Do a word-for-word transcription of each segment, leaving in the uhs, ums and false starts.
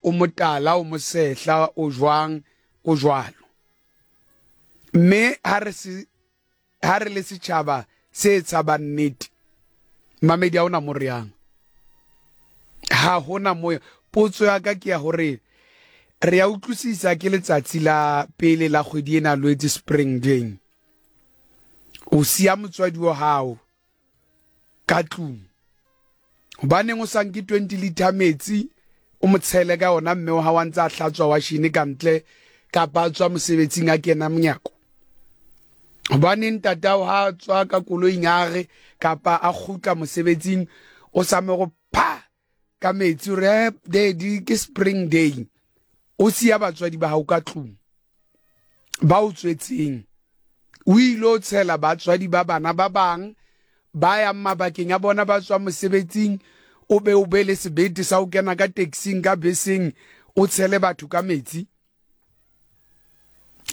o motala, o mosehla, o jwang, o jwalo. Mme ha re se ha re le setjhaba se tshabang nnete, mamedi ha ona mo re yang, ha hona mo. Potso ya ka ke ya hore re ya utlwisisa ke letsatsi la pele la kgwedi ena Lwetse, Spring Day. O siya motswadi wa hao ka tlung, hobaneng o sa nke twenty liter metsi o mo tshele ka ona mme wa hao a ntse a hlatswa washene ka ntle, kapa a tswa mosebetsing a kena monyako? Hobaneng ntatao ha a tswa ka koloing a re kapa a kgutla mosebetsing o sa mo go pha ka metsi, o re daddy ke Spring Day? O siya batswadi ba hao ka tlung ba o tswetseng, o ile o tshela batswadi ba bana ba bang ba yang mabakeng a bona ba tswa mosebetsing, o be o be le sebete sa ho kena ka taxing, ka beseng, o tshele batho ka metsi.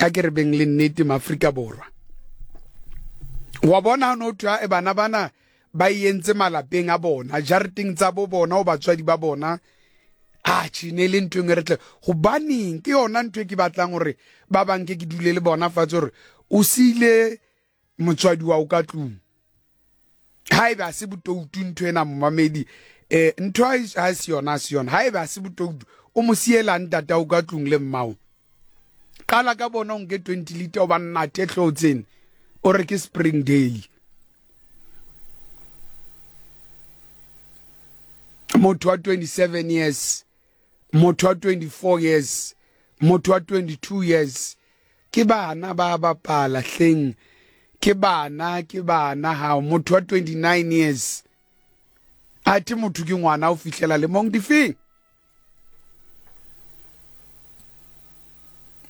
A ke re beng le nnete, Maafrika Borwa. Wa bona ha no thwa e bana bana ba entse malapeng a bona, jareteng tsa bo bona, o batswadi ba bona, a tjhe, ne le ntho e re tle. Hobaneng ke yona ntho e ke batlang hore ba bang ke ke dule le bona fatshe, hore o siile motswadi wa o ka tlung? Haeba se botoutu ntho ena, momamedi, eh ntho ha se yona, se yona. Haeba se botoutu, o mo siela ntata o ka tlung le mmao, qala ka bona o nke twenty liter o ba nnate hloo tsena, o re ke Spring Day. Motho wa twenty-seven years, motho wa twenty-four years, motho wa twenty-two years, ke bana ba bapala hleng, ke bana, ke bana. Hao motho wa twenty-nine years, athe motho ke ngwana o fihlela lemong difeng?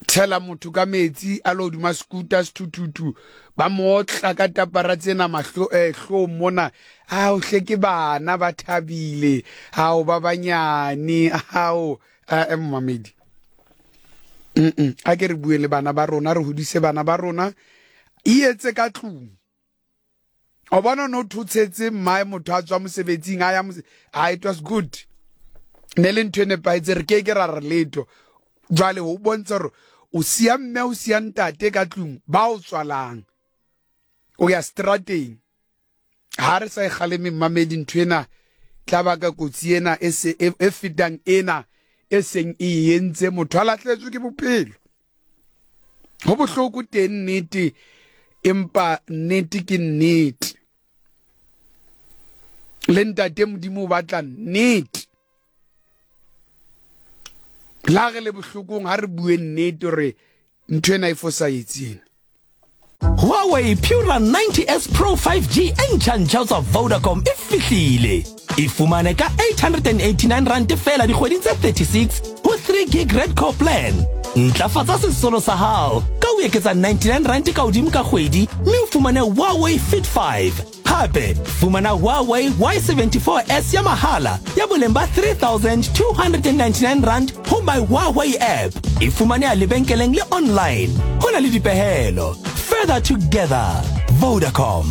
Tshela motho ka metsi a lo hodima scooter, sethuthuthu, ba mo otla ka tapara tsena mahlo eh hlong mona. Ao hle, ke bana ba thabile, ao ba banyane, ao eh momamedi. Mm a ke re bue le bana ba rona, re hodise bana ba rona, e etse ka tlung. O bona no thotshetse mmae, motho a tswa mosebetsing a ya, ah, it was good, ne le ntho e nepahetse, re ke ke ra re letho. Jwale ho bontsha hore o siya mme, o siya ntate ka tlung ba o tswalang, o ya strateng. Ha re sa e kgaleme, mmamedi, ntho ena tla baka kotsi ena e se e fetang ena e seng e entse motho a lahletswe ke bophelo. Ho bohloko teng nnete, empa nnete ke nnete, le ntate Modimo o batla nnete. La re le bohlokong, ha re bue nnete hore ntho ena e fosahetseng. Huawei Pura ninety S Pro five G e ntjha-ntjha ho tswa Vodacom e fihlile. E fumane ka eight hundred and eighty-nine rand feela dikgweding tse thirty-six ho three gig Red Core plan. Ntlafatsa sesolo sa hao ka ho eketsa ninety-nine rand ka hodimo ka kgwedi mme o fumane Huawei Fit five. Hape fumana Huawei Y seventy-four S ya mahala ya boleng ba three thousand two hundred and ninety-nine rand ho My Huawei app. E fumaneha lebenkeleng le online. Ho na le dipehelo. Further together. Vodacom.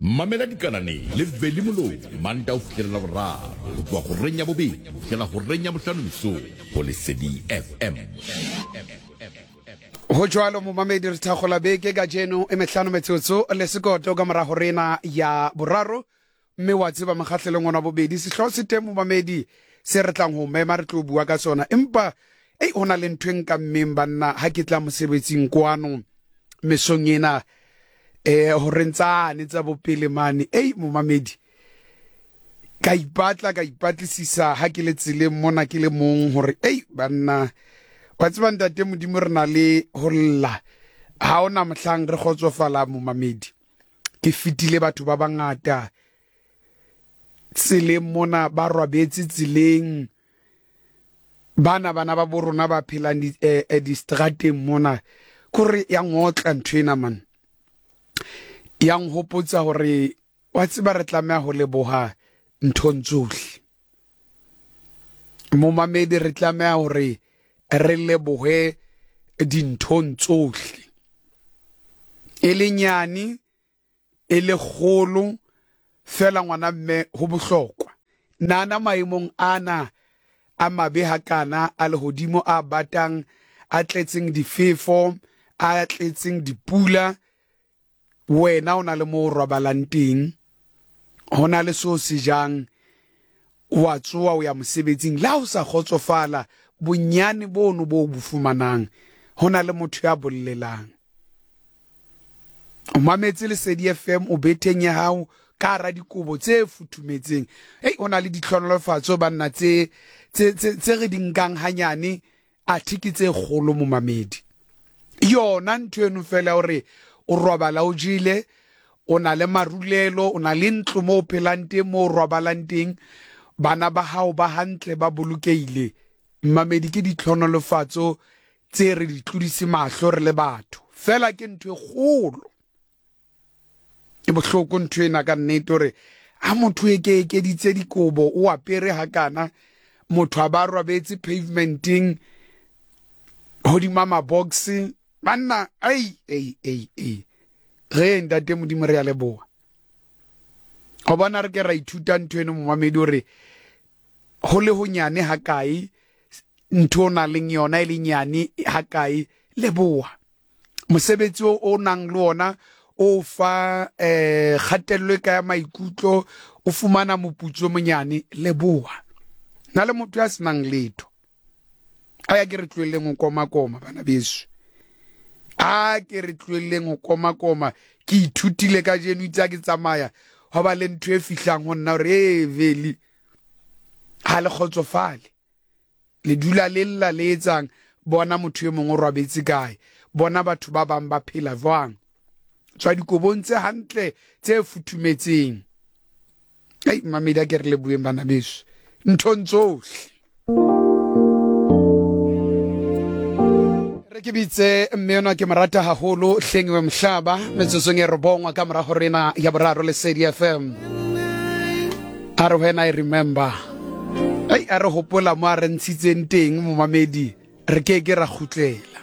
Mamela dikanane le Veli Moloi Manta ho fihlela Laboraro ho tloha horeng ya bobedi ho fihlela horeng ya bohlano mesong ho Lesedi F M. Ho jwalo momamedi, re thakgola beke kajeno e mehlano metsotso le sekoto ka mora horena ya boraro, mme wa tseba mokgahlelong ona bobedi sehlooho se teng momamedi se re tlang ho mema, re tlo bua ka sona. Empa ei, ho na le ntho e nka mmeng banna ha ke tla mosebetsing kwano mesong ena, eh hore ntsane tsa bopele mane. Ei momamedi, ka ipatla, ka ipatlisisa ha ke le tseleng mona ke le mong hore ei banna, wa tseba ntate Modimo re na le ho lla, ha ona mohlang re kgotsofala momamedi. Ke fetile batho ba bangata tseleng mona, ba robetse tseleng, bana bana ba bo rona ba phelang di, eh, eh, distrateng mona, kore ya ngotla ntho ena man, ya nhopotsa hore wa tseba re tlameha ho leboha nthong tsohle momamedi, re tlameha hore re lebohe dinthong tsohle, e le nyane e le kgolo fela ngwana mme ho bohlokwa. Nana maemong ana a mabe hakana a lehodimo a batang, a tletseng difefo, a tletseng dipula, wena o na le mo o robalang teng, ho na le seo se jang, wa tsoha o ya mosebetsing. Le ha o sa kgotsofala, bonyane bono bo bo fumanang, ho na le motho ya bollelang. O mametse Lesedi F M, o betheng ya hao ka hara dikobo tse futhumetseng. Ei, ho na le ditlhonolofatso banna tse, tse, tse, tse re di nkang hanyane, athe ke tse kgolo momamedi. Yona ntho eno fela hore o robala o jele, o na le marulelo, o na le ntlo moo o phelang teng, moo o robalang teng, bana ba hao ba hantle, ba bolokehile. Mmamedi, ke ditlhonolofatso tse re di tlodise mahlo re le batho. Fela ke ntho e kgolo. E bohloko ntho ena ka nnete hore ha motho e ke ekeditse dikobo, o apere hakana, motho a ba robetse pavementeng hodima mabox, banna, ai, ai, ai, ai. Re ntate Modimo re a leboha. Ho bona re ke ra ithuta ntho eno momamedi hore ho le honyane hakae, ntho o nang le yona e le nyane hakae, leboha. Mosebetsi o o nang le ona o fa, eh, kgatello e ka ya maikutlo, o fumana moputso o monyane, leboha. Na le motho ya senang letho. A ya ke re tlohelleng ho koma-koma, bana beso. A ke re tlohelleng ho koma-koma. Ke ithutile kajeno itse ha ke tsamaya, ho ba le ntho e fihlang ho nna hore, ee, Veli, ha le kgotsofale. Le dula le lla le etsang, bona motho e mong o robetse kae, bona batho ba bang ba phela jwang. Tswa dikobong tse hantle tse futhumetseng. Ei, mamedi, a ke re leboheng bana beso nthong tsohle. Re ke bitse mme enwa ke mo rata haholo, Hlengiwe Mhlaba, metsotsong e robongwa ka mora hora ena ya boraro Lesedi F M. A re when I remember. Ei, a re hopola mo a re ntshitseng teng momamedi, re ke ke ra kgutlela.